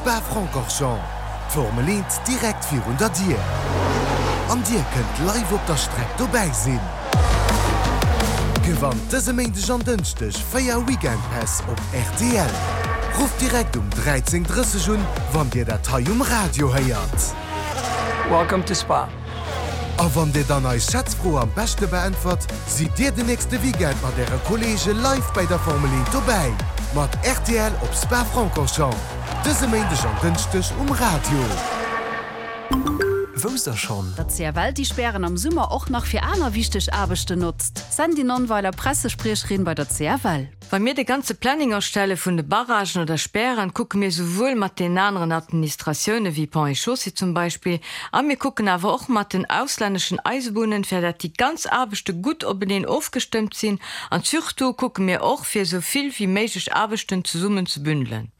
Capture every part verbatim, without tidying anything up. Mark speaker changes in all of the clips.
Speaker 1: Spa-Francorchamps. D'Formel eent direkt virun der Dier. An dir kënnt live op der Streck dobäi sinn. Gewannt dëse Méindeg an Dënschdeg véier Weekendpäss op rtl. Rufft direkt um dräizéng drësseg un, wann dir dat hei um Radio héiert.
Speaker 2: Welcome to Spa.
Speaker 1: A wann dir dann eis Schätzfro am beschte beäntwert, sidd dir den nächste Weekend mat äre Kolleege live bei der Formel eent dobäi. Mat rtl op Spa-Francorchamps. Dëse Méindeg an Dënschdeg um Radio.
Speaker 3: Wousst der schonn?
Speaker 4: Datt C F L déi Spären am Summer och nach fir aner wichteg Aarbechten notzt. Sandy Nonnweiler, Pressespriecherin bei der C F L.
Speaker 5: Wa mir de ganze Planning erstelle vun de Barragen oder Spären, kucke mir souwuel mat den aneren Administratioune wéi Ponts et Chaussées zum Beispill, a mir kucken awer och mat den auslänneschen Eisebunnen, fir datt déi ganz Aarbechte gutt openeen ofgestëmmt sinn, an surtout kucke mir och fir sou vill wéi méiglech Aarbechten zesummen ze bündelen.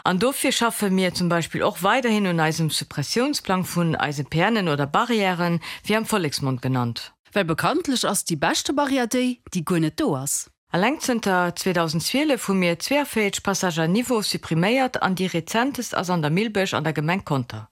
Speaker 5: An dofir schaffe mir zum Beispill och weiderhin un eisem Suppressiounsplang vun eise P Nen oder Barrièren, wéi am Volleksmond genannt.
Speaker 4: Well bekanntlech ass déi beschte Barrière déi, déi guer net do ass.
Speaker 5: Alleng zënter zweedausenzwielef hu mir zweeavéierzeg Passages à niveau suppriméiert an déi rezentest ass an der Millbech an der Gemeng Conter.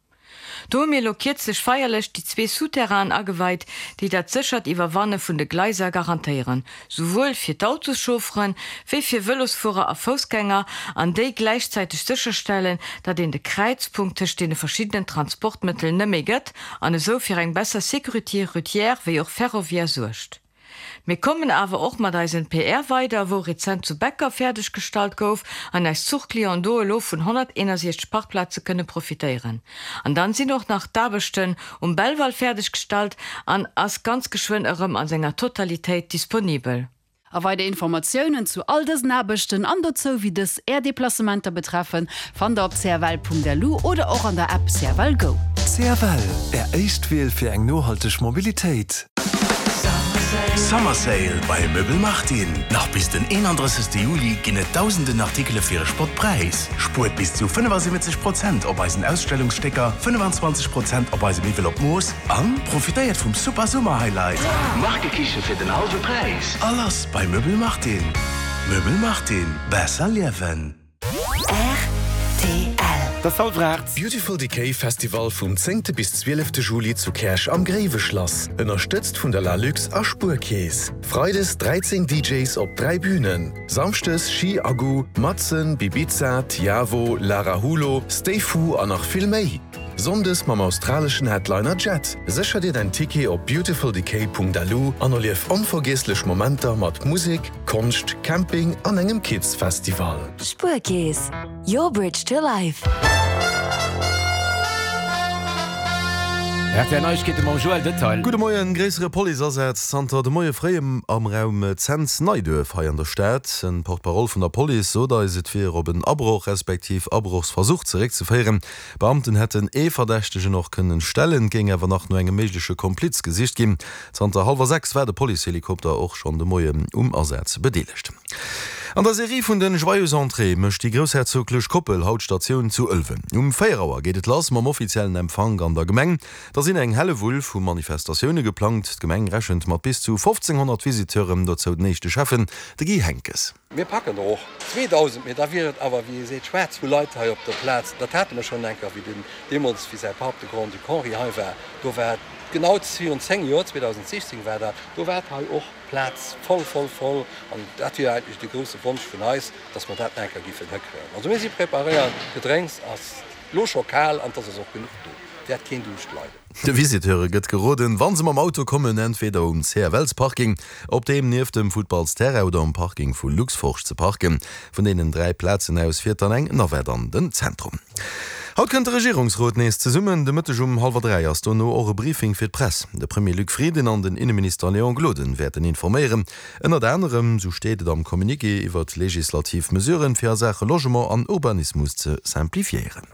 Speaker 5: Do hu mir elo kierzlech feierlech déi zwee Souterrainen ageweit, déi dat séchert Iwwerwanne vun de Gleiser garantéieren, souwuel fir d'Autoschaufferen, wéi fir Vëlosfuerer a Foussgänger, an déi gläichzäiteg sécherstellen, datt een de Kräizpunkt tëscht deene verschiddenen Transportmëttelen net méi gëtt an esou fir eng besser Sécurité routière wéi och ferroviaire suergt. Mir kommen awer och mat eisen P R weider, wou rezent zu Becker fäerdeggestallt gouf an eis Zuchclienten do elo vun honnerteenasechzeg Parkplaze kënne profitéieren. An dann sinn och nach d'Aarbechten um Belval fäerdeggestallt an ass ganz geschwënn erëm an senger Totalitéit disponibel.
Speaker 4: A weider Informatiounen zu all dësen Aarbechten an dozou wéi dës är Deplacementer betreffen, fannt der op C F L Punkt L U oder och an der App C F L Go.
Speaker 3: C F L, Är éischt Wiel fir eng nohalteg Mobilitéit.
Speaker 6: Summer Sale bei Möbel Martin. Nach bis den eenandrëssegste Juli ginn et dausenden Artikele fir e Spottpräis. Spuert bis zu fënnefasiwwenzeg Prozent op eisen Ausstellungsstécker, fënnefenzwanzeg Prozent op eise Miwwel op Mooss an profitéiert vum Super Summer Highlight. Markekiche fir den hallwe Präis. Alles bei Möbel Martin. Möbel Martin. Besser liewen.
Speaker 7: R T L.
Speaker 8: Dat ass hallwer aacht.
Speaker 9: Beautiful Decay Festival vum zéngte bis zwielefte Juli zu Käerch am Gréiweschlass. Ënnerstëtzt vun der Lalux a Spuerkeess. Freides dräizéng D Js op dräi Bünen. Samschdes Ski Agu, Matzen, Bibiza, Tiavo, Lara Hulo, Stay Fu an nach vill méi. Sonndes mam australeschen Headliner Jet. Sécher dir däin Ticket op beautifuldecay Punkt L U an erlief onvergiesslech Momenter mat Musek, Konscht, Camping an engem Kids Festival.
Speaker 7: Spuerkeess. Your bridge to life.
Speaker 8: R T L Neiegkeete mam Joël Detail.
Speaker 10: Gudde Moien. Gréissere Policeasaz zanter de Moie fréi am Raum Cents Neiduerf hei an der Stad. En Porte-parole vun der Police sot eis, et wier op en Abroch respektiv Abrochsversuch zeréckzeféieren. Beamten hätten ee Verdächtegen och kënnen stellen, géing awer nach no engem méigleche Kompliz gesicht ginn. Zanter hallwer sechs war de Policehelikopter och schonn de Moien um Asaz bedeelegt. An der Serie vun den Joyeuses Entrées mécht déi groussherzoglech Koppel haut Statioun zu Ëlwen. Um véier Auer geet et lass mam offiziellen Empfank an der Gemeng. Da sinn eng Hellewull vu Manifestatioune geplangt. D'Gemeng rechent mat bis zu fofzénghonnert Visiteuren, dozou den éischte Schäffen, de Guy Henckes.
Speaker 11: Mir packen der och zweedausend, mee da wier et awer, wéi ee seet, schwaarz vu Leit hei op der Plaz. Dat hate mer schonn eng Kéier, wéi den deemools, wéi säi Papp, de Grand-Duc Henri, hei war. Do war et genau virun zéng Joer, zweedausendsechzéng war dat, do war et hei och d'Plaz voll, voll, voll. An dat wier eigentlech de grousse Wonsch vun eis, dass mer dat nach eng Kéier géifen hikréien. Also mir si preparéiert, d'Gedrénks ass lo scho kal an et ass och genuch do, wäert keen Duuscht leiden.
Speaker 10: De Visiteure gëtt geroden, wa se mam Auto kommen, entweder um C F Ls-Parking, op deem nieft dem Futtballsterrain oder um Parking vu Luxforge ze parken. Vun deenen dräi Plazen aus fiert dann eng Navette an den Zentrum. Haut kënnt de Regierungsrot nees zesummen. De Mëtteg um hallwer dräi ass dono och e Briefing fir d'Press. De Premier Luc Frieden an den Inneminister Léon Gloden wäerten informéieren. Ënnert anerem, sou steet et am Communiqué, iwwer legislativ Mesuren, fir a Saache Logement an Urbanismus ze simplifiéieren.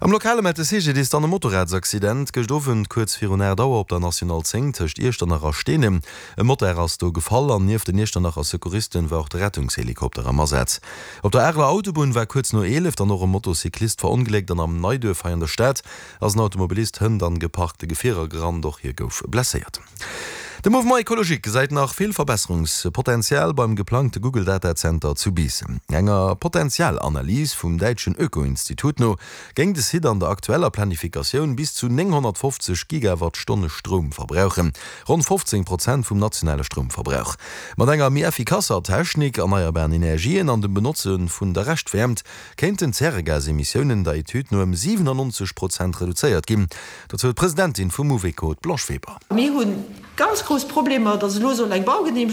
Speaker 10: Am Lokale mellt de C G D I S dann e Motorradsaccident gëscht Owend kuerz virun aacht Auer op der National zéng tëscht Iechternach a Steenem. E Motard ass do gefall an nieft den Iechternacher Secouristen war och de Rettungshelikopter am Asaz. Op der Areler Autobunn war kuerz no eelef dann och e Motocyclist verongléckt an am Neiduerf hei an der Stad ass en Automobilist hënt an geparkte Gefierer gerannt, och hie gouf blesséiert. De Mouvement Ecologique gesäit nach vill Verbesserungspotenzial beim geplangte Google Datazenter zu Biissen. Enger Potenzialanalys vum däitschen Öko-Institut no géing de Site an der aktueller Planifikatioun bis zu nénghonnertfofzeg Gigawattstonne Stroum verbrauchen, ronn fofzéng Prozent vum nationale Stroumverbrauch. Mat enger méi effikasser Technik, erneierbaren Energien an dem Benotze vun der Reschtwäermt kéinten d'Zäregasemissiounen der Etüd no ëm siwenannonzeg Prozent reduzéiert ginn. Dozou d'Presidentin vum Mouveco, d'Blanche Weber.
Speaker 12: Mir hu ganz grouss Problemer, datt elo soll eng Baugeneemegung